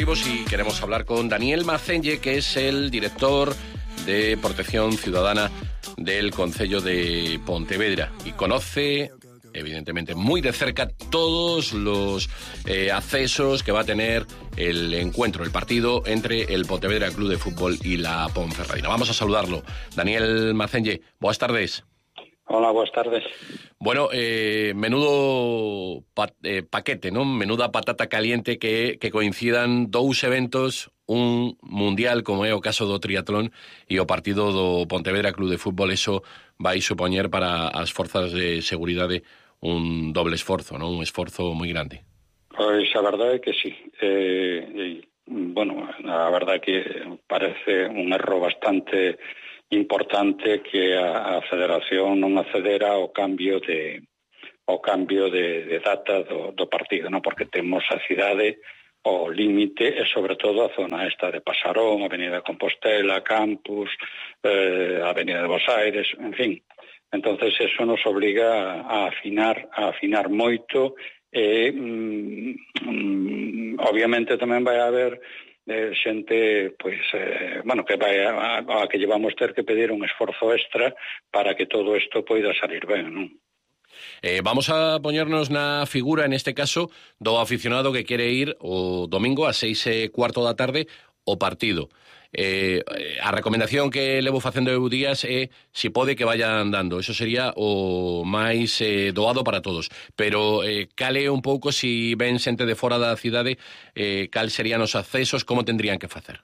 deportivos y queremos hablar con Daniel Macenge, que es el director de Protección Ciudadana del Concello de Pontevedra y conoce, evidentemente, muy de cerca todos los accesos que va a tener el encuentro, el partido entre el Pontevedra Club de Fútbol y la Ponferradina. Vamos a saludarlo. Daniel Macenge, buenas tardes. Hola, buenas tardes. Bueno, menudo paquete, ¿no? Menuda patata caliente que coincidan dous eventos, un mundial como é o caso do triatlón e o partido do Pontevedra Club de Fútbol. Eso vai supoñer para as forzas de seguridade un doble esforzo, ¿no? Un esforzo moi grande. Pois a verdade é que sí. Bueno, a verdade é que parece un erro bastante importante que a Federación non accedera ao cambio de data do partido, non? Porque temos a cidade ao límite e sobre todo a zona esta de Pasarón, Avenida de Compostela, Campus, Avenida de Bos Aires, en fin. Entonces eso nos obliga a afinar moito e obviamente tamén vai haber xente, pois, que vai a que llevamos ter que pedir un esforzo extra para que todo isto poida salir ben, non? Vamos a poñernos na figura, en este caso, do aficionado que quere ir o domingo a 6:15 da tarde o partido. A recomendación que levo facendo eu días é si pode que vayan dando. Eso sería o máis doado para todos. Pero cal é un pouco, si ven xente de fora da cidade, cal serían os accesos, como tendrían que facer?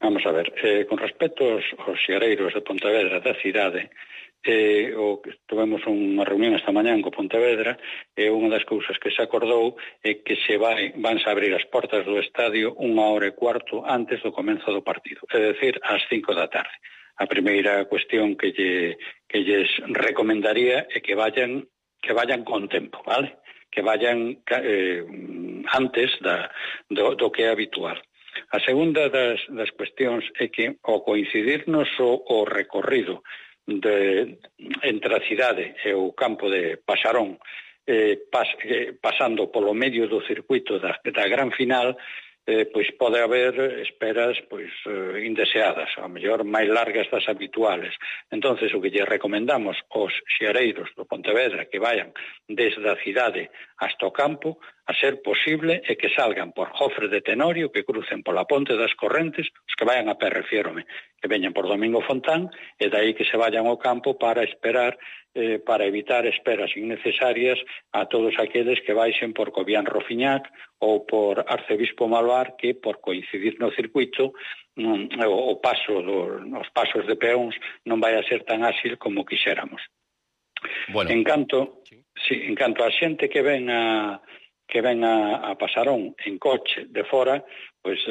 Vamos a ver, con respecto aos xareiros de Pontevedra da cidade, tivemos unha reunión esta mañán co Pontevedra e unha das cousas que se acordou é que vanse abrir as portas do estadio 1:15 antes do comenzo do partido, é dicir, ás 5 da tarde. A primeira cuestión que lles recomendaría é que vayan con tempo, vale? Que vayan antes do que é habitual. A segunda das cuestións é que ao coincidirnos o recorrido entre a cidade e o campo de Pasarón, pasando polo medio do circuito da gran final, pois pode haber esperas indeseadas, ao mellor máis largas das habituales. Entonces o que lle recomendamos aos xareiros do Pontevedra que vayan desde a cidade hasta o campo, a ser posible, é que salgan por Jofre de Tenorio, que crucen pola Ponte das Correntes, os que vayan a pé, refiérome, que veñan por Domingo Fontán, e dai que se vayan ao campo para esperar, para evitar esperas innecesarias a todos aqueles que baixen por Cobián Rofiñac ou por Arcebispo Malvar, que por coincidir no circuito os pasos de peóns non vai a ser tan áxil como quixéramos. Bueno, en canto a xente que ven a Pasarón en coche de fora, pois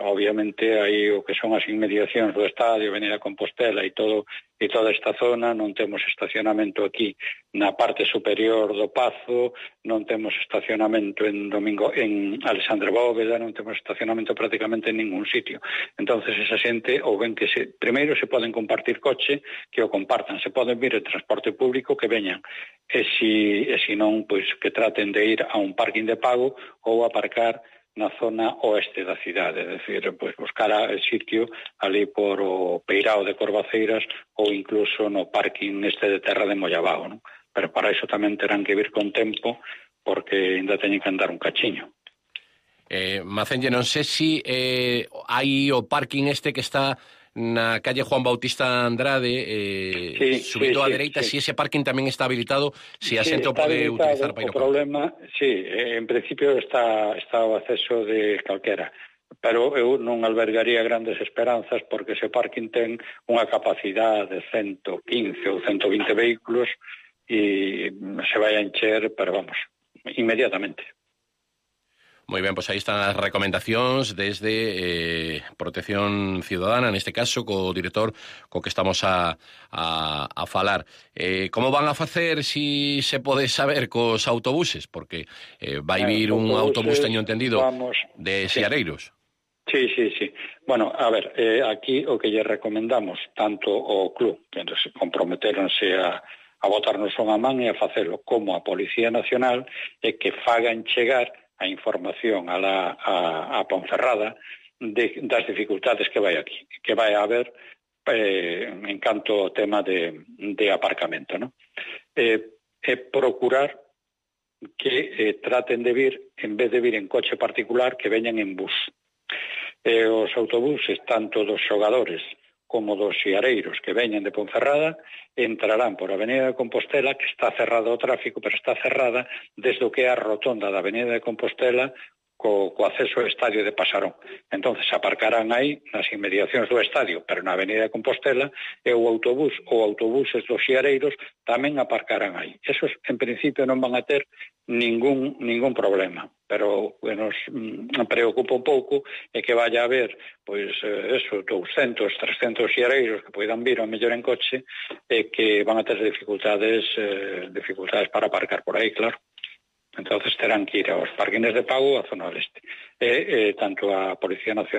obviamente aí o que son as inmediacións do estadio, Avenida Compostela e toda esta zona, non temos estacionamento aquí na parte superior do Pazo, non temos estacionamento en Alexandre Bóveda, non temos estacionamento prácticamente en ningún sitio. Entonces esa xente, ou ben que primeiro se poden compartir coche, que o compartan, se poden vir en transporte público, que veñan, e se non, pois que traten de ir a un parking de pago ou aparcar na zona oeste da cidade, é dicir, pois buscar o sitio ali por o Peirao de Corvaceiras ou incluso no parking de Terra de Mollabao, non? Pero para iso tamén terán que vir con tempo porque ainda teñen que andar un cachiño. Macenge, non sei se hai o parking que está na calle Juan Bautista Andrade, subindo á dereita, si ese parking tamén está habilitado, si a xente o pode utilizar para ir ao campo. O problema, en principio está o acceso de calquera, pero eu non albergaría grandes esperanzas porque ese parking ten unha capacidade de 115 ou 120 vehículos e se vai a encher, pero vamos, inmediatamente. Moi ben, pois aí están as recomendacións desde Protección Ciudadana, neste caso, co director co que estamos a falar. Como van a facer, si se pode saber, cos autobuses? Porque vai vir un autobús, teño entendido, de Seareiros. Sí. Bueno, a ver, aquí o que lle recomendamos tanto ao club, que comprometeronse a botarnos unha man e a facelo, como a Policía Nacional, é que fagan chegar a información a Ponferrada das dificultades que vai a haber en canto ao tema de aparcamento, ¿no? Procurar que traten de vir, en vez de vir en coche particular, que veñan en bus. Os autobuses, tanto dos xogadores como dos xiareiros que veñen de Ponferrada, entrarán por Avenida de Compostela, que está cerrada ao tráfico, pero está cerrada desde o que é a rotonda da Avenida de Compostela co acceso ao estadio de Pasarón. Entonces aparcarán aí nas inmediacións do estadio, pero na Avenida de Compostela, e o autobuses dos xiareiros tamén aparcarán aí. Esos, en principio, non van a ter ningún problema, pero o que nos preocupa un pouco é que vaya a haber, pois, 200, 300 xiareiros que poidan vir ao mellor en coche e que van a ter dificultades para aparcar por aí, claro. Entonces terán que ir aos parquines de pago a zona oeste. Tanto a Policía Nacional